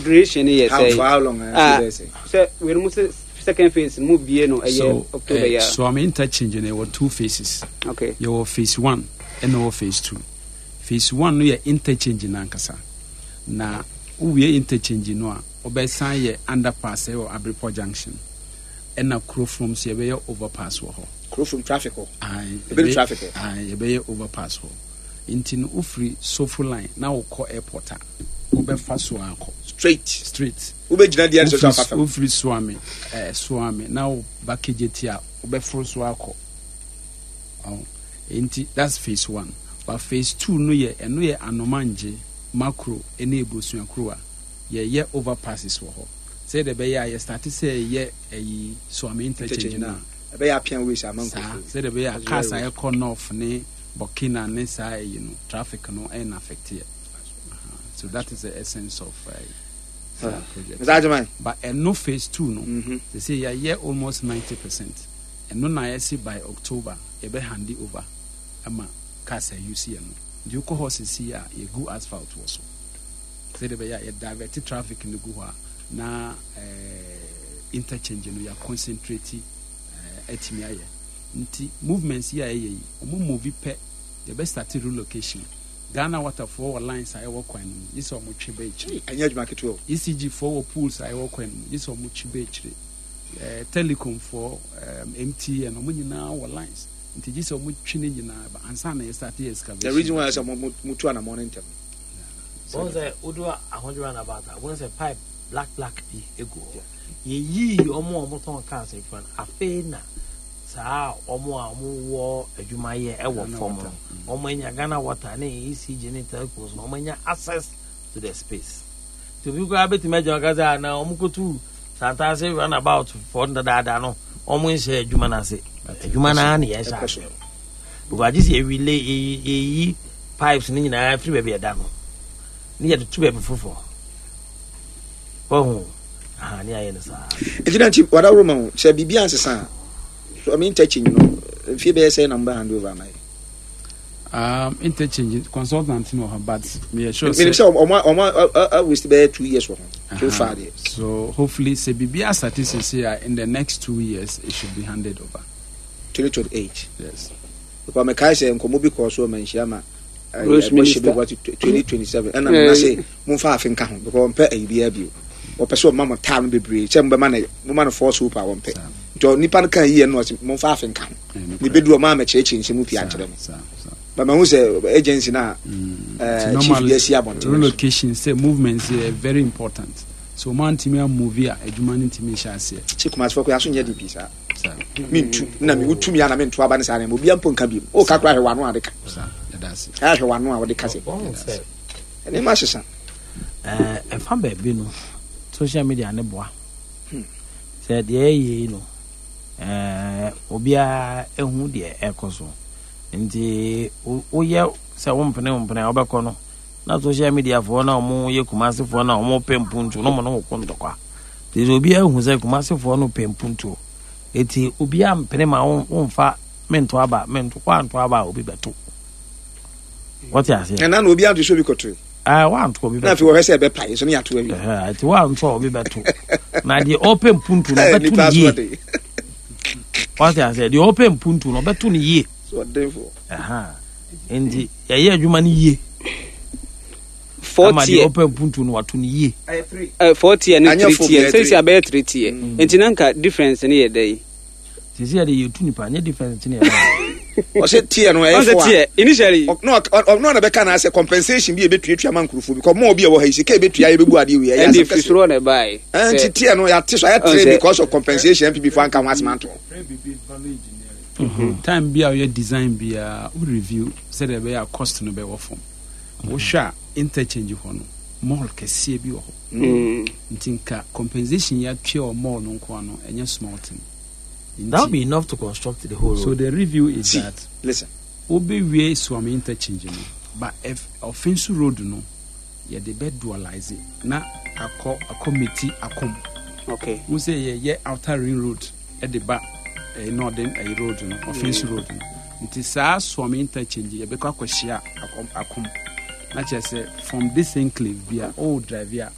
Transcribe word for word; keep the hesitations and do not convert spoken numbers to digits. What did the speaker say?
Duration yɛ How, sɛ for how long? Ah, Uh, sɛ sɛ wei mu sɛ second phase no mu bie no ɛyɛ So October uh, yɛ. Suame interchange no, yɛwɔ two phases. Okay. Yɛwɔ phase one ɛna wɔ phase two. Phase one no yɛ interchange no ankasa, na wowie interchange no a, wobɛsan yɛ underpass ɛwɔ Abrepɔ Junction, ɛna Kurofrom so yɛbɛyɛ overpass wɔ hɔ. Kurofrom traffic hɔ. Aye, Ebɛdu yɛbɛyɛ- traffic hɔ. Aye, yɛbɛyɛ overpass hɔ, nti no wofiri Sofo Line na wokɔ airport a, wobɛfa so akɔ straight. Straight. Wobɛgyina deɛ no so afa Wofiri fam. Wofiri Suame ɛɛ Suame na woba K J T a, wobɛforo so akɔ. Ɔn, nti that's phase one, but phase two no yɛ, ɛno yɛ Anomangye, Makro ɛne Ebusuakuro a yɛyɛ overpasses wɔ hɔ, sɛdeɛ ɛbɛyɛ a yɛ start sɛ yɛyɛ ɛyi Suame interchange no a, ɛbɛyɛ apia wei sɛ ama saa nkurɔfoɔ. Sɛdeɛ ɛbɛyɛ a That's cars a very ɛkɔ north ne Burkina ne saa ɛyi no, traffic no ɛna affect yɛ. Aha. So that is the essence of uh, saa project. Mister Agyeman. But ɛno phase two no, Mhm. they say yɛayɛ almost ninety percent. Ɛno na yɛsi by October yɛbɛ hand it over ama cars a use yɛ no. Nti wokɔ hɔ sisi a, yɛgu asphalt wɔ so sɛdeɛ ɛbɛyɛ a yɛ divert traffic no gu hɔ a, na eh, interchange no yɛ concentrate eh, atumi ayɛ. Nti movements yi a ɛyɛ yi, ɔmo move pɛ, yɛbɛ start relocation. Ghana Waterfoɔ wɔ lines a ɛwɔ kwan no mu yi sɛ ɔmo twe bɛ akyire. Ɛnyɛ adwuma ketewa o. E C G foɔ wɔ poles a ɛwɔ kwan no mu yi sɛ ɔmo twe bɛ akyire. ɛɛ telecom foɔ, ɛɛm M T N, ɔmo nyinaa wɔ lines, nti gye sɛ ɔmo twe ne nyinaa ba ansa na yɛ start yɛ excavation. The reason why sɛ mo- mo- motu anammɔ no ntɛm. Wɔn sɛ wodu Ahodwo roundabout a, wɔn sɛ pipe black black bi egu hɔ. Yɛyii wɔn a wɔtɔn cars nifa no. Afei na saa wɔn a wɔwɔ adwumayɛ ɛwɔ Ghana fam Water. no, wɔn anya Ghana Water ne E C G ne telcos no, wɔn anya access to the space. Nti obi koraa bɛtumi agyina kasa na wɔn kotu Santase roundabout fɔ dadaada no, wɔn nhyɛ adwuma no ase. Adwuma no ara na yɛhyɛ Ɛkɔ so. ase because agye sɛ yɛwile yɛyi pipes no nyinaa firi baabi ɛda no ne yɛde to baabi foforɔ wahu aha ne ayɛ no saa. Nti na nti wadaworo ma wo sɛ biribi ansesa a, so interchange no, mfie bɛyɛ sɛ na mobɛ hand over ama yɛ? um, interchange consultant no wɔ hɔ, but meyɛ sure menim sɛ ɔmo ɔmo waste bɛyɛ two years wɔ ho so far deɛ. So hopefully sɛ biribi asate sese a, in the next two years it should be handed over. twenty twenty-eight? Yes. Because mekae sɛ nkɔmmɔ bi kɔɔ so ma nhyia ma Roads minister. twenty twenty-seven, ɛna mena sɛ momfa afe nka ho because ɔmpɛ ayi biara bio. Ɔpɛ sɛ ɔma mo taa no bebree sɛ mobɛma no, moma no force hope a wɔmpɛ. Saa. Nti ɔ- nipa no ka yie no, ɔsɛ momfa afe nka ho. Ɛyɛ nokorɛ. Ne bɛduru ɔma amɛkyerɛkyerɛ nsɛm pii Saa, ankyerɛ me. saa, saa. But mahu sɛ agency no a eh, Nti chief normally, de asi abɔnten no so. Relocation sɛ movements yɛ very important, so ɔmo antumi amove a, adwuma no ntumi nhyɛ aseɛ. Sɛ Kumasefoɔ kɔ yɛaso nyɛ de pii saa. Saa. Mentu na me wotumi a na mento aba ne saa nneɛma obia mpo nka biom woka kora, hwɛ w'ano a wode ka. Saa, yɛda ase. Ɛhwɛ w'ano a wode ka sɛ wɔn sɛ nneɛma asesa. ɛɛ ɛfa baabi no, social media ne boa sɛ deɛ ɛyɛ yi no, ɛɛ obiara ehu deɛ ɛkɔ so. Nti wo- woyɛ sɛ wompene wompene a, wobɛkɔ no na social media foɔ na ɔmo yɛ Kumasefoɔ na ɔmo pɛ mpuntuo na ɔmo ne wo ko ntɔkwa. Nti sɛ obiara ehu sɛ Kumasefoɔ no pɛ mpuntuo, eti obiara mpene ma wo womfa mento aba, mento kɔ anto aba a, obi bɛto. Wɔte aseɛ? Ɛna na obi anto sɛ obi kɔtoe. Ɛɛ, wanto, obi na bɛto. Afei wɔhwɛ sɛ ɛbɛpae so ne yɛato awie. Ɛhɛ, nti wanto a, obi bɛto, na deɛ ɔpɛ mpuntu no Eh, ɔbɛto nipa no so yie. ɔden. Wɔte aseɛ? Deɛ ɔpɛ mpuntu no, ɔbɛto no yie. So ɔdenfoɔ. Ɛha nti yɛyɛ adwuma no yie four ama deɛ tier ɔpɛ mpuntu no wato no yie. uh, four tier ne Anyɛ three four tier. biara. Sɛ si abɛyɛ three tier, nti na nka difference ne yɛ dɛ yi? Sisi yɛde yɛtu nipa nyɛ difference ne yɛ Ɔsɛ tier no ɛyɛ ɔn sɛ four a tier initially. Ɔ- na ɔk- ɔ- ɔno na bɛka na sɛ compensation bi a ɛbɛtuatua ma nkurɔfoɔ bi kɔ mɔɔ bi a ɛwɔ ha yi, sika a ɛbɛtua yɛbɛbu adeɛ wei ɛyɛ Ɛnde asɛm firi kɛseɛ. soro na ɛbaeɛ. Ɛn, nti tier no yɛate so ayɛ Ɔn three sɛ- because of compensation. N P P fo anka ho asɛm anto. Time bi a woyɛ design biara, wo review sɛdeɛ ɛbɛyɛ a cost no bɛwɔ fam. Wohwɛ a, interchange hɔ no, mall kɛseɛ bi wɔ hɔ. Mm. Nti nka compensation yɛatua wɔ mall no nko ano, ɛnyɛ small thing. That will Nti be enough to construct the whole so road. The review is See, that listen. wobɛwie Suame interchange no, but if Ɔfenso Road no, yɛde bɛ dualize na akɔ akɔ meti Akom. Okay. Wo sɛ yɛyɛ Outer Ring Road ɛde ba ɛyɛ northern ɛyɛ road no, Ɔfenso Road no, nti saa Suame interchange yɛbɛkɔ akɔhyia Akom, Akom na kyerɛ sɛ from this enclave bi a ɔwɔ drive a